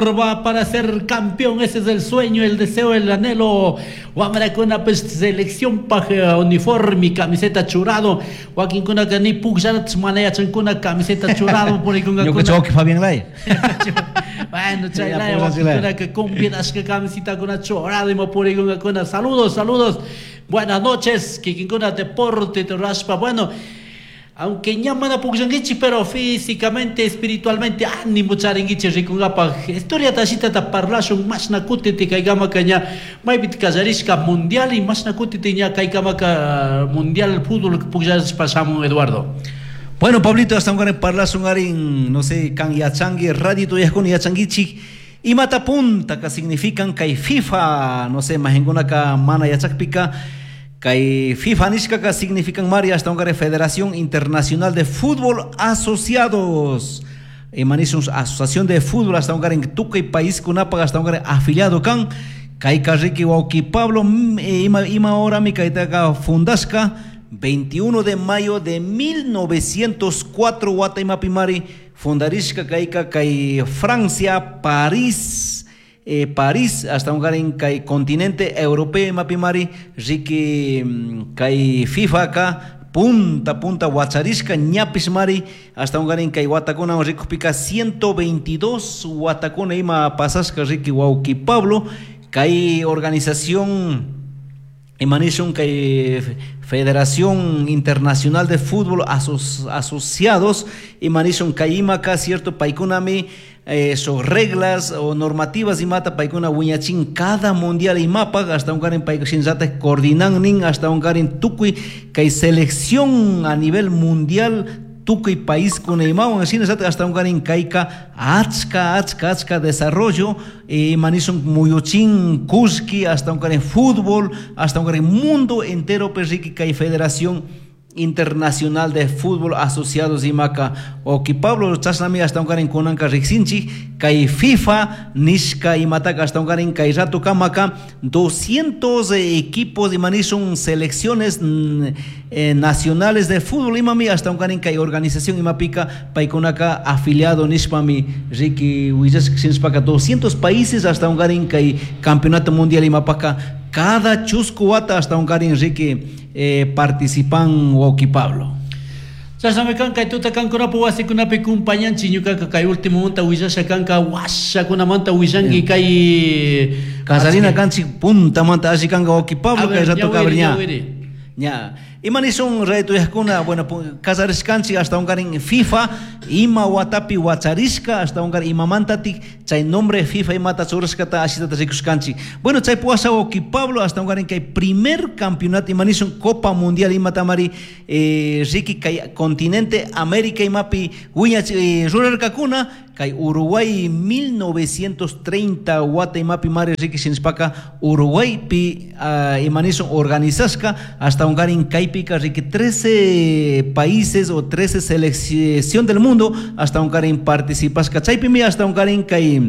Va para ser campeón, ese es el sueño, el deseo, el anhelo. Wamrakuna pues selección pa uniforme, camiseta churado. Wakinkuna ni pukllanata mana yachankuna camiseta churado Ñuka chawki Fabián Lay. Bueno, chay laya wakinkuna que convidashka camiseta churado ima purikunkakuna. Saludos, saludos. Buenas noches, kikinkuna deporte raspa. Bueno, aunque ña mana pukllankichik, pero físicamente, espiritualmente, ánimo charinkichik rikunkapaj. Historia tashitata parlashun mashna kutiti kaykamaka ña maypi kallarishka mundial y mashna kutiti ña kaykamaka mundial fútbol pukllashpa shamun, Eduardo. Bueno, Pablito, hasta un parlashun arin, no sé, kan yachangi, radio tuyajkuna yachankichik. Imata punta ka significan kay FIFA, no sé, mahinkunaka mana yachakpika, kay FIFA nishkaka significan mari hasta un Federación Internacional de Fútbol Asociados. Imanishun Asociación de Fútbol hasta un en tukuy país kunapaq hasta un afiliado kan. Kay karriki wawki Pablo ima ima horami kaytaka fundashka 21 de mayo de 1904 wata imapimari fundarishka kayka kay Francia, París, París hasta un en kay continente europeo imapimari riki kay FIFA ka punta punta wacharishka ñapis mari hasta un en kay watakuna rikupika 122 watakuna ima pasashka riki wawki Pablo kay organización imanishun kay Federación Internacional de Fútbol Asociados imanishun kay imaka cierto paykunami so reglas o normativas imata paykuna wiñachin cada mundial imapaq hasta un karin paykushinllataj coordinan nin hasta un karin tukuy kay selección a nivel mundial tukuy país kuna imawan shinallataq hasta un karin kayka achka achka achka desarrollo imanishun muyuchin kullki hasta un karin fútbol hasta un karin mundo entero perriki kay Federación Internacional de Fútbol Asociados imaka oki Pablo chashnami hasta un karin kunanka riqsinchik kay FIFA nishka imataka hasta un karin kay rato kamaka 200 equipos imanishun selecciones nacionales de fútbol imami hasta un karin kay organización imapika paykunaka afiliado nishpami riki willashka shinashpaka 200 países hasta un karin kay campeonato mundial imapaka cada chusku wata hasta un karin riki participan wawki Pablo. Chashnami kan kay tuta kankunapu wasikunapi kumpañanchik ñukaka kay último munta willasha kanka washakunamanta willanki kay Kasarina kanchik puntamanta alli kanka wawki Pablo kay rato kabri ña. Ña. Imanishun radio tuyajkuna, bueno, kasarishkanchik hasta un karin FIFA ima watapi wacharishka hasta un karin imamantatik chay nombre FIFA imata churashkata ashitata rikushkanchik. Bueno, chay puwasha wawki Pablo hasta un karin kay primer campeonato imanishun Copa Mundial imatamari riki kay continente América imapi wiñach rurarkakuna kay Uruguay 1930 wata imapi mari riki shinashpaka Uruguaypi imanishun organizashka hasta un karin kaypika riki 13 países o 13 selección del mundo hasta un karin participashka chaypimi hasta un karin kay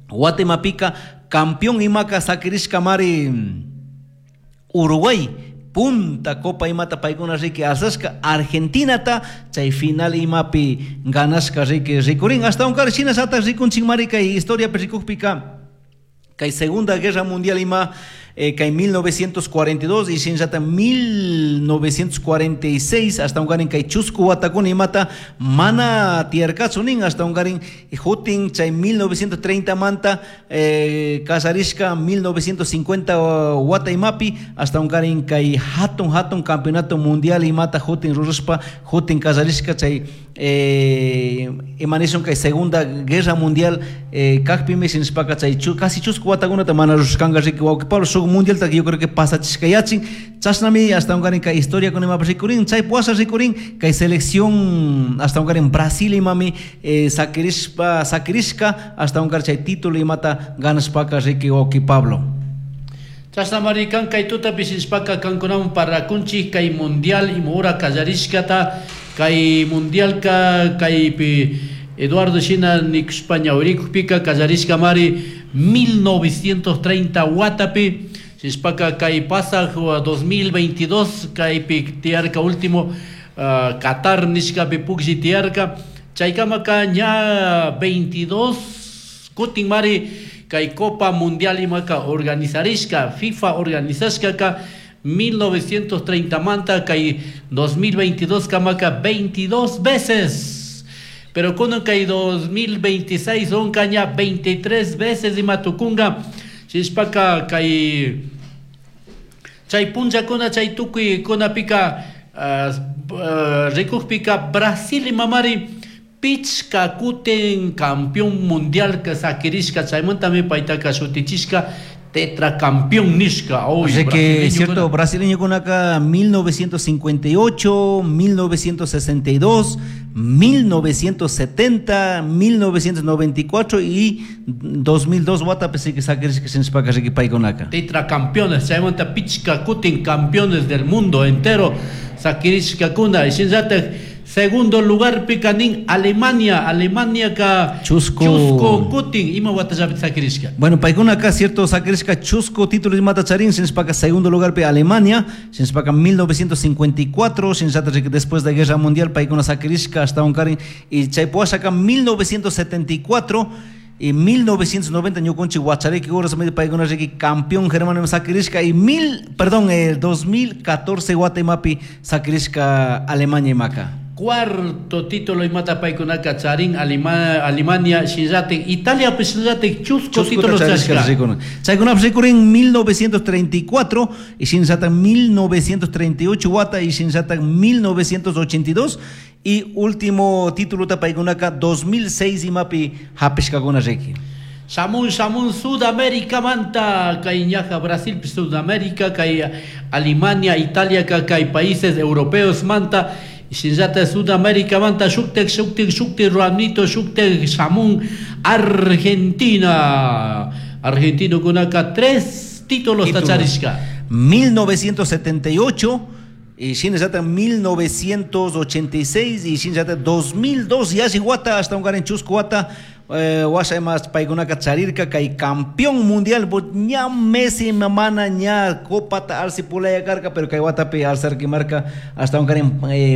wata imapika campeón imaka sakirishka mari Uruguay punta copa imata paykuna riki alzashka Argentinata chay final imapi ganashka riki rikurin hasta un karin shinallataq rikunchik mari kay historia rikukpika kay Segunda Guerra Mundial ima kay 1942 y shinallata 1946 hasta un karin kay chusku watakuna imata mana tiyarkachu nin hasta un karin jutin chay 1930 manta kasarishka 1950 wata imapi hasta un karin kay hatun hatun campeonato mundial imata jutin rurashpa jutin kasarishka chay imanishun kay Segunda Guerra Mundial kakpimi shinashpaka chay casi chusku watakunata mana rurashkanka riki wawki Pablo shuk mundial ta yo creo que pasachishka yachin chashnami hasta un karin kay historia con imapas rikurin chay puwasha rikurin kay selección hasta un karin Brasil imami sakirishpa sakirishka hasta un karin chay título imata ganashpaka riki wawki Pablo. Chashnamari kan kay tutapi shinashpaka kankunawan parlakunchik kay mundial imahora kallarishkata kay mundialka kaypi Eduardo shina nikushpa ñawirikukpika kallarishka mari 1930 watapi shinashpaka kay pasaj 2022 kaypi tiyarka último Qatar nishkapi puklli tiyarka chaykamaka ña 22 Kutin mari kay Copa Mundial imaka organizarishka, FIFA organizashkaka 1930 manta kay 2022 kamaka 22 veces. Pero kunan kay 2026 onkaña 23 veces ima tukunga. Shishpaka kay chay punllakuna chay tukuy kunapika rikukpika Brasil imamari pichka kutin campeón mundial ka sakirishka chaymantami paytaka shutichishka tetracampeón nishka. O sea que es cierto, brasileño kunaka 1958, 1962, 1970, 1994 y 2002 watapi que sakirishka shinashpaka riki paykunaka. Tetracampeones, chaymanta pichka kutin campeones del mundo entero sakirishkakuna. Y shinallatak segundo lugar pikanin Alemania, Alemania ka Chusco. Chusco kutin ima watallapi sakirishka. Bueno, paykunaka cierto sakirishka chusco título imata charin, shinashpaka segundo lugar pi Alemania, shinashpaka 1954, shinallatak después de Guerra Mundial paykuna sakirishka hasta un karin y chaypuashaka 1974 y 1990 ñukunchik wachariki horas medio paykuna riki campeón germano sakirishka y el 2014 wata imapi sakirishka Alemania imaka. Cuarto título imata paykunaka charin Alemania shinallatik Italia pues shinallatik chusco títulos charishka. Chaykunapish rikurin 1934 y shinallatak 1938 wata y shinallatak 1982 y último título paykunaka 2006 imapi hapishkakuna riki. Shamun, shamun, Sudamérica manta, kay ñaja Brasil, Sudamérica, kay Alemania, Italia, kay países europeos manta, shinllata Sudamérica manta, shuktek, shuktek, shuktek, Ramnito, shuktek, shamun, Argentina. Argentino kunaka 3 títulos tacharishka. 1978 y shinllata 1986 y shinllata 2002 y así wata hasta un garin chusco wata. Washa mas paykunaka charirka kay campeón mundial ña Messi mamana ña copa ta alci pulaya karka pero kay watapi alzarki marka hasta un karin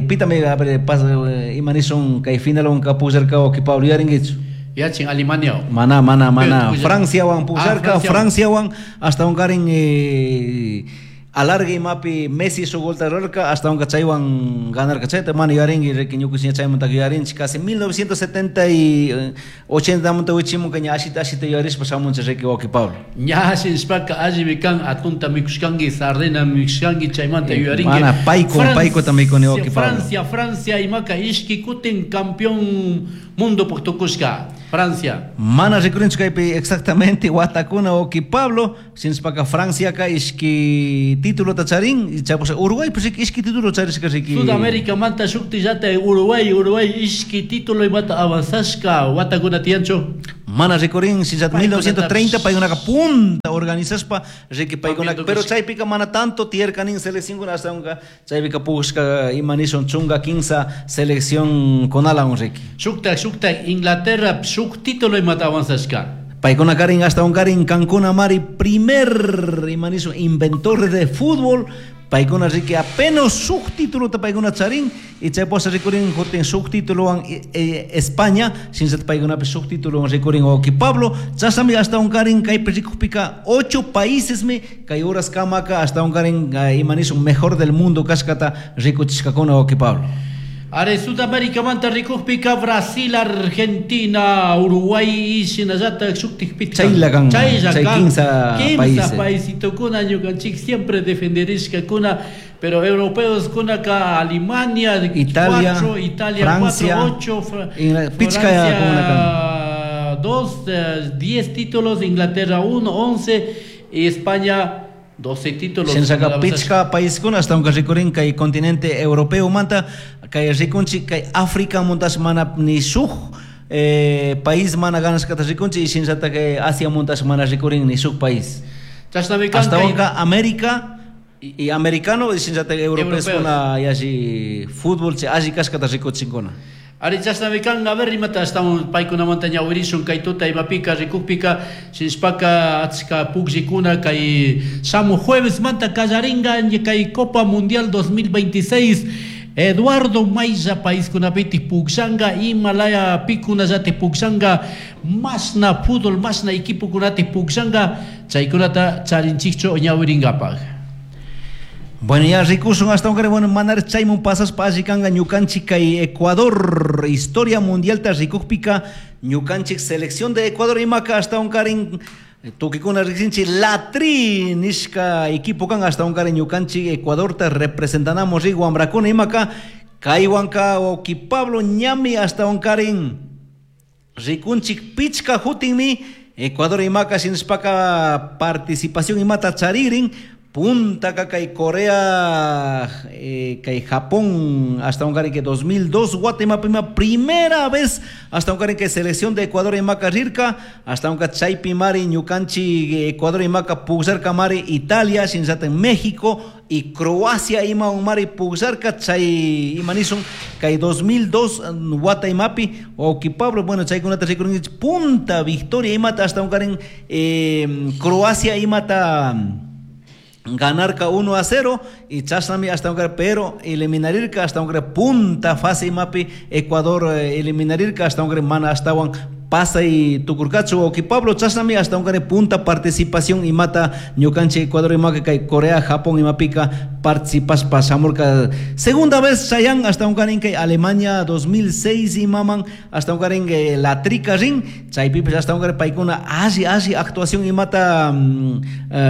pitame a ver pasa imanison kay final un kapullarka o que Pablo yaringuichu. Yachin Alemania. Mana mana mana Francia wan pullarka Francia wan hasta un karin alargue mapi Messi su gol tararka hasta un chaywan ganar cachayta mana yaringi riki ñukusiña chaymanta yarinchi casi 1970 y 80 manta wichimun kaña ashita ashita yarishpa shamunchi riki wawqi Pablo. Ña shinshpaka allimi kan atunta mikushkanki sardina mikushkanki chaymanta yuyarinki. Mana payko paykota mikuni wawqi Pablo. Francia, Francia imaka ishki kutin campeón mundo tukushka. Francia. Mana rikurinchu kaypi exactamente watakuna wawqi Pablo shinshpaka Francia ka ishki título tacharín y chapos Uruguay pues ishki título charishka riki. Sudamérica manta shuktillata Uruguay, Uruguay ishki título imata avanzashka watakuna tiyanchu. Mana rikurin shinllata 1930 paykunaka punta organizashpa riki paykunaka pero chaypika mana tanto tiyarkanin selección kuna hasta unka chaypika pushka imanishun chunga kinsa selección konala un riki. Shukta shukta Inglaterra shuk título imata avanzashka. Paykuna karin hasta un karin Cancún mari primer imanizo inventor de fútbol. Paykuna riki apenas subtítulo ta paykuna charin y chayposa rikurin jutin subtítulo an España sin set paykuna subtítulo rikurin oki Pablo chasami hasta un karin kay rikupika 8 países me kay horas kamaka hasta un karin imanizo mejor del mundo kashkata rikuchishkakuna oki Pablo. Are Sudamérica manta rikukpika Brasil, Argentina, Uruguay y shinallata shuktikpika. Chaylakan, chay kinsa países. Paisitokuna ñukanchik siempre defenderishkakuna, pero europeos kunaka Alemania, Italia, 4, Italia Francia, 4, 8, Francia 2, 10 títulos, Inglaterra 1, 11 y España 12 títulos. Shinshaka pichka paiskuna hasta un rikurin kay continente europeo manta kay rikunchi kay África montas mana ni shuj país mana ganashkata rikunchi y shinshata kay Asia montas mana rikurin ni shuj país. Hasta unka América y americano y shinshata europeos kuna yashi fútbol che alli kashkata rikuchinkuna. Ari chashnami kan, a ver, imata estamos paykunamanta ñawirishun kay tuta imapika rikukpika shinshpaka achka pukllikuna kay shamu jueves manta kallaringa kay Copa Mundial 2026 Eduardo maylla paiskunapiti pukllanka, imalaya pikunallati pukllanka, mashna fútbol, mashna equipokunati pukllanka, chaykunata charinchikchu ñawirinkapak. Bueno, ya rikushun hasta bueno, manar chaymun pasaspa alli kanka ñukanchik kay Ecuador historia mundialta rikukpika ñukanchik selección de Ecuador imaka hasta karin tukikuna riqsinchik la Tri nishka equipo kan hasta karin ñukanchik Ecuadorta representanamos rik wambrakuna imaka kaywanka wawki Pablo ñami hasta karin rikunchik pichka hutinmi Ecuador imaka shinashpaka participación imata charirin punta kay Corea kay Japón hasta un que 2002 Guatemala primera vez hasta un que selección de Ecuador imaka rirka hasta un chaypi mari ñukanchik Ecuador imaka pukllarka mari Italia shinallata México y Croacia ima mari pukllarka chay ima nishun kay 2002 Guatemapi wawki Pablo bueno chaykunata rikurunchik punta victoria imata hasta un Croacia imata ganarka 1-0 y chashnami hasta un pero eliminarirka hasta un punta fase imapi Ecuador eliminarirka hasta un mana hasta pasay tukurkachu wawki Pablo chashnami hasta un punta participación imata ñukanchik Ecuador imaka kay Corea Japón imapika participashpa shamurka segunda vez chayan hasta un kay Alemania 2006 imaman hasta un la trica rin chaypipish hasta un paykuna alli alli actuación imata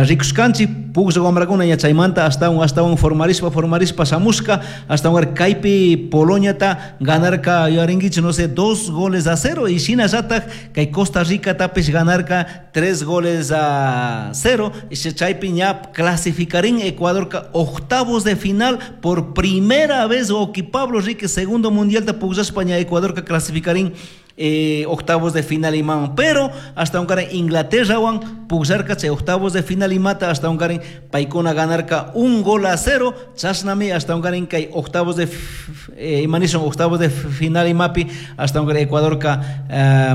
rikushkanchik puklla wambrakuna ña chaymanta hasta un formarishpa shamushka hasta un kaypi Poloniata ganarka yuyarinkichik no sé 2-0 y shinallatak kay Costa Rica tapish ganarka 3-0 y chaypi ña clasificarín Ecuador octavos de final por primera vez wawki Pablo Rique segundo mundial pukllashpa ña Ecuador clasificarín octavos de final imaman pero hasta un Inglaterra wan pukllarka chay octavos de final imata hasta un paykuna ganarka 1-0 chashnami hasta un kay octavos de ima nishun octavos de final imapi hasta un Ecuadorka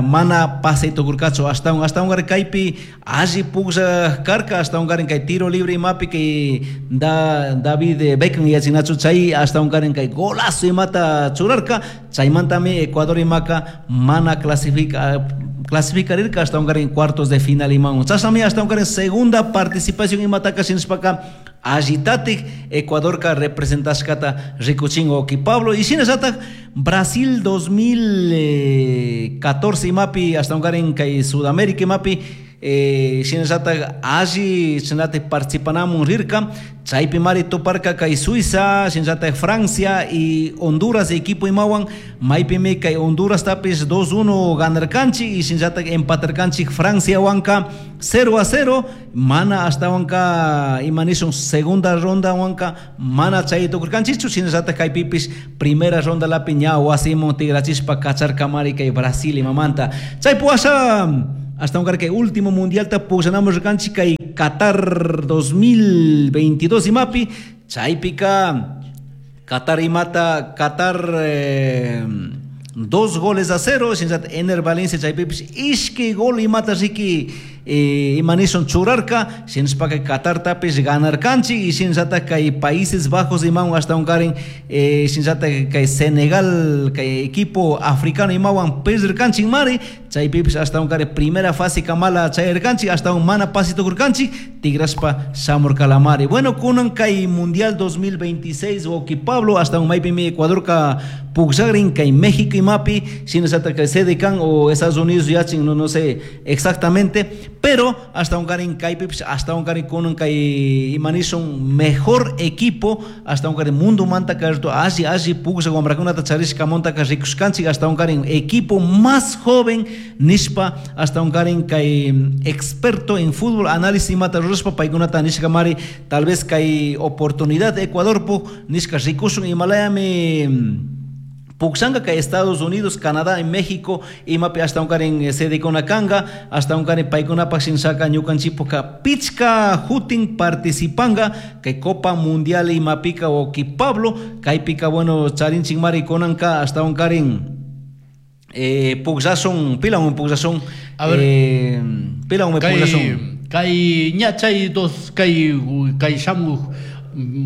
mana pasay tukurkachu hasta un kaypi alli puklla karka hasta un kay tiro libre imapi kay David Beckham yachinachu chay hasta un kay golazo imata churarka chaymantami Ecuador imaka mana clasificarirka hasta un cuartos de final imaman chashnami hasta un segunda participación imataka shinashpaka allitatik Ecuadorka representashkata rikuchin wawki Pablo y shinallatak Brasil 2014 imapi hasta un kay Sudamérica imapi shinallatak alli shinallatak participanamun rirka chaypi mari tuparka kay Suiza shinallatak Francia y Honduras equipo imawan maypimi kay Honduras tapish 2-1 ganarkanchik y shinallatak empatarkanchik Francia wanka 0-0 mana hasta wanka ima nishun segunda ronda wanka mana chay tukurkanchikchu shinallatak kaypipish primera ronda lapi ña wasimun tigrachishpa kacharka mari kay Brasil imamanta chaypi washa hasta un que último mundial ta pukllanamos rikanchik kay Qatar 2022 imapi chaypika Qatar imata Qatar 2-0 shinallata Ener Valencia chaypipish ishki gol imata riki ima nishun churarka shinashpaka Qatar tapish ganarkanchik y shinallatak kay Países Bajos imawan hasta un karin shinallatak kay Senegal kay equipo africano imawan perdirkanchik mari chaypipish hasta un karin primera fase kamala chayarkanchik hasta un mana pasi tukurkanchik tigrashpa shamurkalamari bueno kunan kay mundial 2026 wawki Pablo hasta un maypimi Ecuadorka pukllakrin kay México imapi shinallatak kay sede kan o Estados Unidos yachin no sé exactamente pero hasta un karin kaypipish hasta un karin kunan kay ima nishun mejor equipo hasta un karin mundo manta karto alli alli puklla wambrakunata charishkamantaka rikushkanchik hasta un karin equipo más joven nishpa hasta un karin kay experto en fútbol análisis imata rurashpa paykunata nishka mari tal vez kay oportunidad Ecuadorpuk nishka rikushun imalayami pukllanka kay Estados Unidos, Canadá y México imapi hasta un karin sedekuna kanka hasta un karin paykunapak shinshaka ñukanchikpuka pichka hutin participanga kay Copa Mundial imapika wawki Pablo kaypika bueno charinchik mari kunanka hasta un karin pukllashun pilawan pukllashun a ver pilawan pukllashun kay ña chay dos kay kay shamuj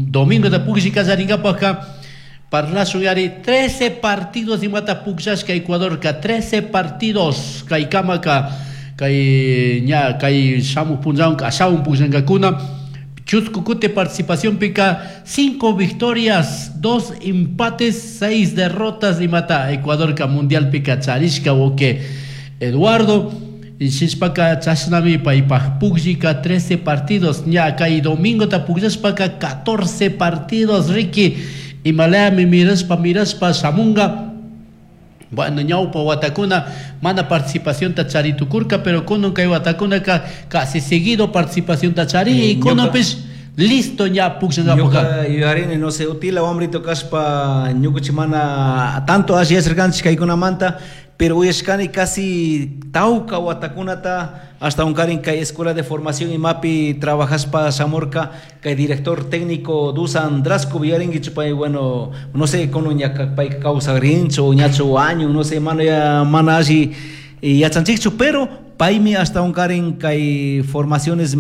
domingo da pukllikallarinkapak Parlashun yari 13 partidos imata pukllashka Ecuadorka 13 partidos kaykamaka kay ña kay shamuj punllawanka ashawan pukllankakuna. Chusku kuti participación pika 5 victorias, 2 empates, 6 derrotas imata Ecuadorka mundial pika charishka wawki Eduardo. Shishpaka chashnami paypaj pukllika 13 partidos ña kay domingota pukllashpaka 14 partidos riki imalayami mirashpa mirashpa shamunga. Bueno, ñawpa watakuna mana participacionta charitukurka, pero kunan kay watakunaka casi seguido participacionta chari y kunapish listo ña pukllangapaka. Ñuka yuyarini, no sé, utila wamrito kashpa ñukanchik mana tanto alli yacharkanchik kaykunamanta, pero uyashkani casi tawka watakunata hasta unkarin kay escuela de formación imapi trabajashpa shamurka kay director técnico Dusan Drasko yuyarinkichu pay, bueno, no sé, kunan ña pay kawsakrinchu o ñachu año, no sé, mana ya, mana alli yachanchikchu, pero paymi hasta unkarin kay formaciones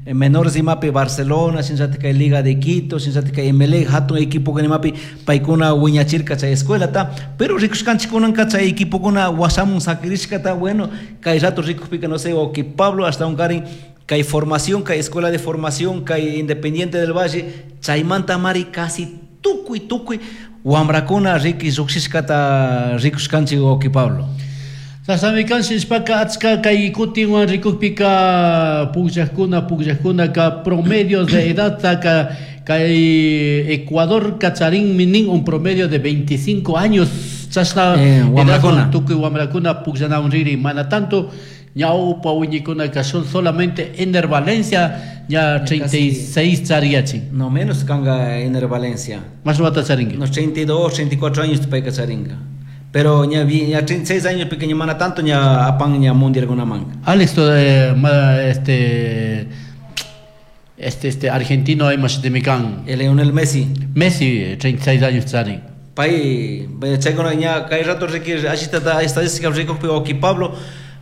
menores imapi Barcelona, shinllatik kay Liga de Quito, shinllatik kay Emelec, hatun equipo imapi paykuna wiñachirka chay escuelata, pero rikushkanchik kunanka chay equipokuna washamun sakirishkata, bueno, kay rato rikukpika, no sé, o que Pablo hasta unkarin kay formación, kay escuela de formación, kay Independiente del Valle, chaymanta mari casi tukuy, tukuy wamrakuna riki lluqshishkata rikushkanchik, wawqi Pablo. Sasami kan shishpaka achka kay kutinwan rikukpika pukllakuna, pukllakkunaka promedios de edad ka kay Ecuador kacharinmi nin un promedio de 25 años chashna Wamrakuna. edad tukuy wamrakuna pukllanawan riri, mana tanto ñawpa wiñikunaka son solamente Enner Valencia ya Casi 36 chariyachin. No menos kanga Enner Valencia. Más wata charinki. Unos 32, 34 años payka charinka. Pero ña vi, ña 36 años pequeño mana tanto ña apan ña mundial alguna manga. Alex, to, ma, este, este, este argentino hay más de Mikan. El Lionel Messi. Messi, 36 años charin. Pay, vaya, chay con ña kay rato requir, así está, está, estadística rico, pero aquí Pablo,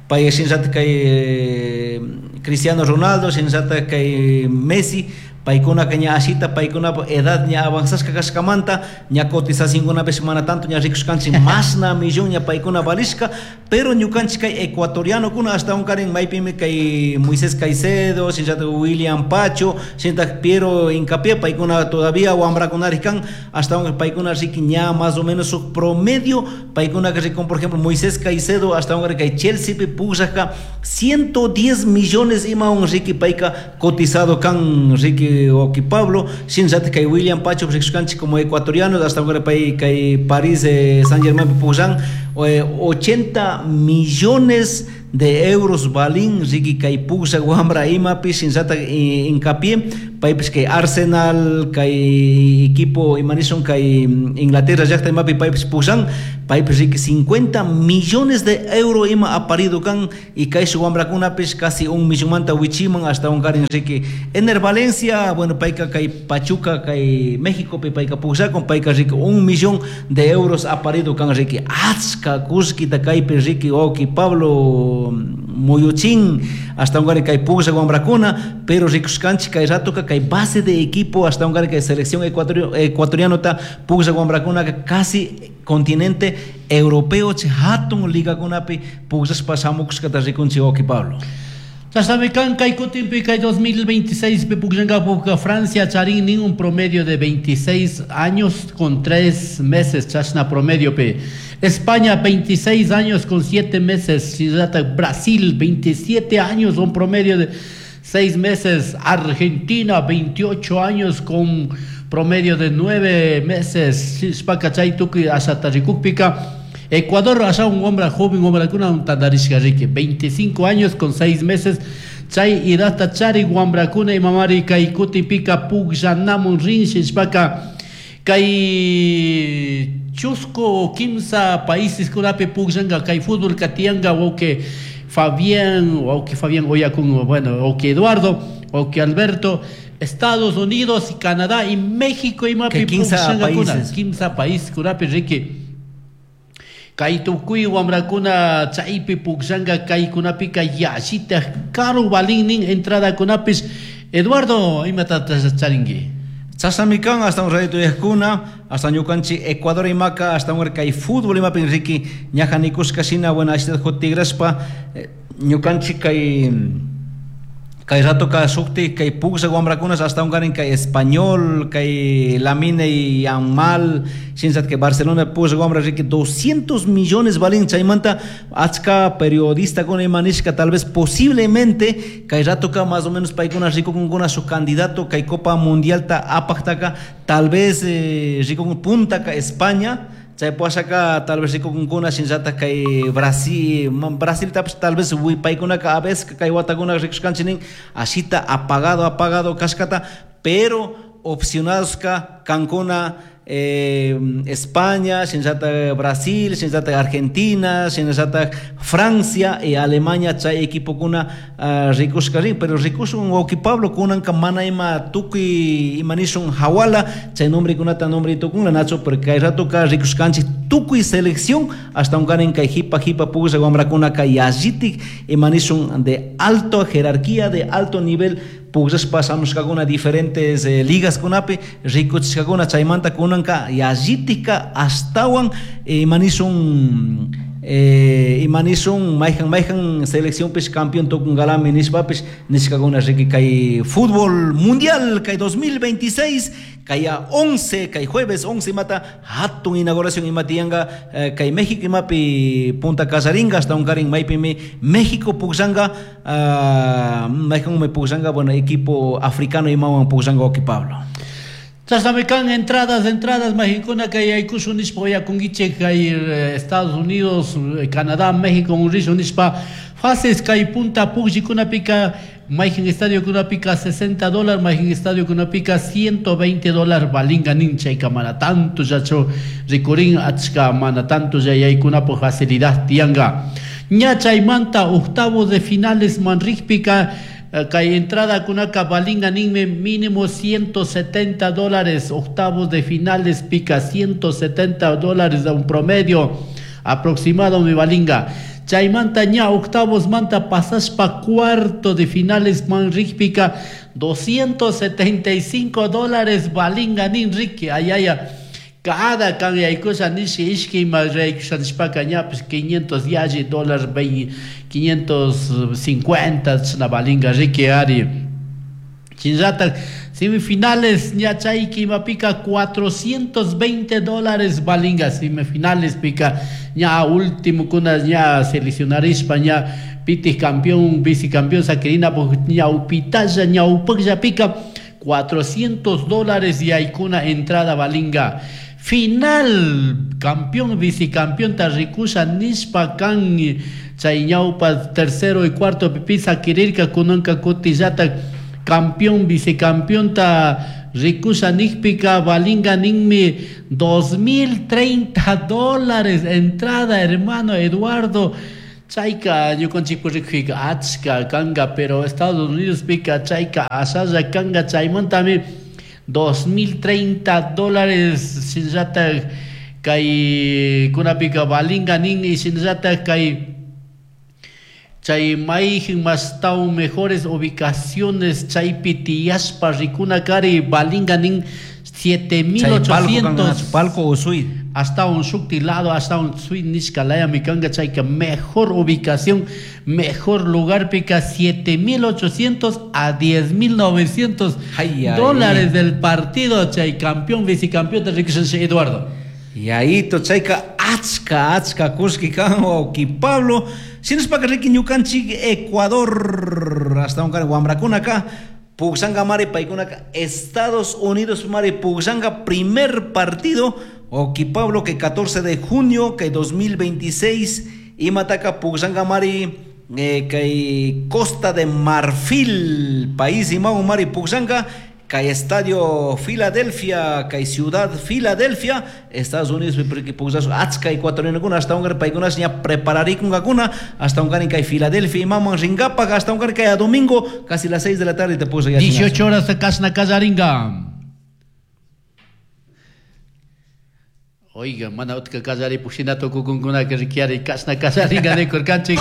pay sin rato kay Cristiano Ronaldo, sin rato kay Messi, paykuna ka ña ashita, paykuna edad ña avanzashka kashkamanta, ña cotizacionkunapish mana tanto ña rikushkanchik mashna millón ña paykuna valishka, pero ñukanchik kay ecuatorianokuna hasta unkarin maypimi kay Moisés Caicedo, shinllatak William Pacho, shinllatak Piero Hincapié, paykuna todavía wambrakunarik kan, hasta un paykuna riki ña más o menos su promedio, paykuna que rikun, por ejemplo, Moisés Caicedo, hasta un kay Chelsea pi pukllajka 110 millones ima un riki payka cotizado kan riki Oki Pablo, shinllatak kay William Pacho rikushkanchik como ecuatoriano, hasta ahora pay kay París Saint Germain pukllан, 80 millones de euros balín riki kay puklla wambra imapi shinllatak hincapié, paypis kay Arsenal kay equipo imanishun kay Inglaterra llaqta imapi paypis pukllan, paypis riki 50 millones de euro ima aparido kan y kay su wambrakunapis casi un millón manta wichiman hasta un karin riki Enner Valencia, bueno, payka kay Pachuca kay México pi payka pukllakun, payka riki un millón de euros aparido kan riki achka kullkita kaypi riki Oki Pablo muyuchin hasta un kay puklla wambrakuna, pero rikushkanchik kay ratoka kay base de equipo hasta un kay selección ecuatorianota puklla wambrakuna casi continente europeo che hatun ligakunapi pukllashpa shamukushkata rikunchik Oki Pablo. Chashnami kan kay kutinpi kay 2026 pi pukllankapukka Francia charin nin un promedio de 26 años con 3 meses chashna promedio pe. España 26 años con 7 meses, Shinllatak Brasil 27 años un promedio de 6 meses, Argentina 28 años con promedio de 9 meses, Shishpaka chay tukuy ashata rikukpika. Ecuador, allá un hombre joven, hombre con un tandarishka rique, 25 años con 6 meses, chay idata chari guambrakuna y mamari kay kuti pika pukllanamun rin, shishpaka kay chusco kimsa países kunapi pukllanga kay fútbol katianga, wauke Fabián, wauke Fabián Oyacun, bueno, wauke Eduardo, wauke Alberto, Estados Unidos y Canadá y México y mapi Que quince pukllanga kuna, países. kimsa país kunapi rique. Kay tukuy wamrakuna chaypi pukllanga kaykunapika yallita karu balin nin entrada kunapis. Eduardo, imatataq charinki? Chashnami kan hasta raytuyaqkuna, hasta ñukanchik Ecuador imaka, hasta kay fútbol imapin riki ñaja nikushka shina, bueno, ashita tigrashpa ñukanchik kay ratoka shukti kay puglla wamrakunas hasta ungarin kay Español, kay Lamine Yamal, shinllatak kay Barcelona puglla wamra riki 200 millones valin. Chaymanta achka periodistakuna ima nishka tal vez posiblemente kay ratoka más o menos paykuna rikukunkuna shuk candidato kay Copa Mundialta apaktaka, tal vez rikukun puntaka España, chay puashaka tal vez rikukunkuna shinllatak kay Brasil, Brasiltapish tal vez paykunaka a veces kay watakuna rikushkanchik nin ashita apagado apagado kashkata, pero opcionadoska kankuna España, shinllatak Brasil, shinllatak Argentina, shinllatak Francia y Alemania chay equipokuna rikushka rin, pero rikushun wawqi Pablo kunanka mana ima tukuy ima nishun hawala chay nombrekunata nombre tukunla nacho, porque kay ratoka rikushkanchik tukuy selección hasta unkarin kay jipa jipa puglla wamrakunaka yallitik ima nishun de alta jerarquía, de alto nivel pugllashpa shamushkakuna diferentes ligas kunapi rikuchishkakuna. Chaymanta kunanka yallitika ashtawan imanishun mayjan mayjan seleccionpish campeón tukunkalami nishpapish nishkakuna riki kay fútbol mundial kay 2026 kay 11 kay jueves 11 imata hatun inauguración ima tiyanka kay México imapi Punta Casaringa hasta unkarin maypimi México pugllanga mayjanmi pugllanga, bueno, equipo africano imawan pugllanga wawqi Pablo. Chashnami kan entradas, entradas, Mexicuna kay aykushun nishpa uyakunkichik kay Estados Unidos, Canadá, México unrishun nishpa fases kay punta pugllikunapika mayjin estadiokunapika $60, mayjin estadiokunapika $120 valinga nin. Chayka mana tanto llachu rikurin achka, mana tanto yaykunapuk facilidad tiyanka. Ña chaymanta octavos de finales manrikpika kay entrada kunaka valinga ninmi mínimo $170, octavos de finales pica $170 de un promedio aproximado mi valinga. Chaymanta ña octavos manta pasashpa cuarto de finales manrikpika $275 valinga nin riki. Ayaya, cada kan yaykusha nishi ishki ima yaykusha nishpaka ñapish 500 yalli dólar, 550 chashna valinga riki ari. Shinllatak semifinales ña chayki imapika $420 valinga semifinales pika ña último kuna ña seleccionarishpa ña pitik campeón vicecampeón saquirina ña upitalla ña upaklla pika $400 yaykuna entrada valinga. Final campeón vicecampeón tarrikusha nishpa kan chay ñawpa tercero y cuarto pipi saquirirka kunanka kutillata campeón vicecampeón ta rikusha nikpika valinga ninmi $2,030 entrada, hermano Eduardo. Chayka ñukanchik rikuyka achka kanga, pero Estados Unidos pika chayka ashalla kanga. Chaymantami $2,030 shinllatak kay kunapika valinga nin. Y shinllatak kay chay mayjin mastawan mejores ubicaciones chaypi tiyashpa rikuna kari valinga nin 7,800. Palco o suite. Hasta un shukti lado, hasta un suite nishka laya mi kanga chayka mejor ubicación, mejor lugar pica 7,800 a 10,900 Ay, ay, dólares ay. del partido chay campeón, vicecampeón de Riquelme Eduardo. Y ahí to chayka achka achka kushki kan wawqi Pablo. Sinuspa riki ñukanchik Ecuador hasta un kan wamrakunaka pugllanga mari paykunaka Estados Unidos mari pugllanga primer partido wawqi Pablo que 14 de junio que 2026 imataka pugllanga mari kay Costa de Marfil país imawan mari pugllanga kay Estadio Filadelfia, kay Ciudad Filadelfia, Estados Unidos, porque pugllasu achka ecuatorianokuna hasta un paykunas ña prepararikunkakuna hasta un kay Filadelfia imaman rinkapak hasta un kay a domingo casi las 6 de la tarde te puso ya 18 horas kashna kallaringa. Oiga, mana utka kallari pushina tukukunkuna que rikiari kashna kallaringa nikurkanchik.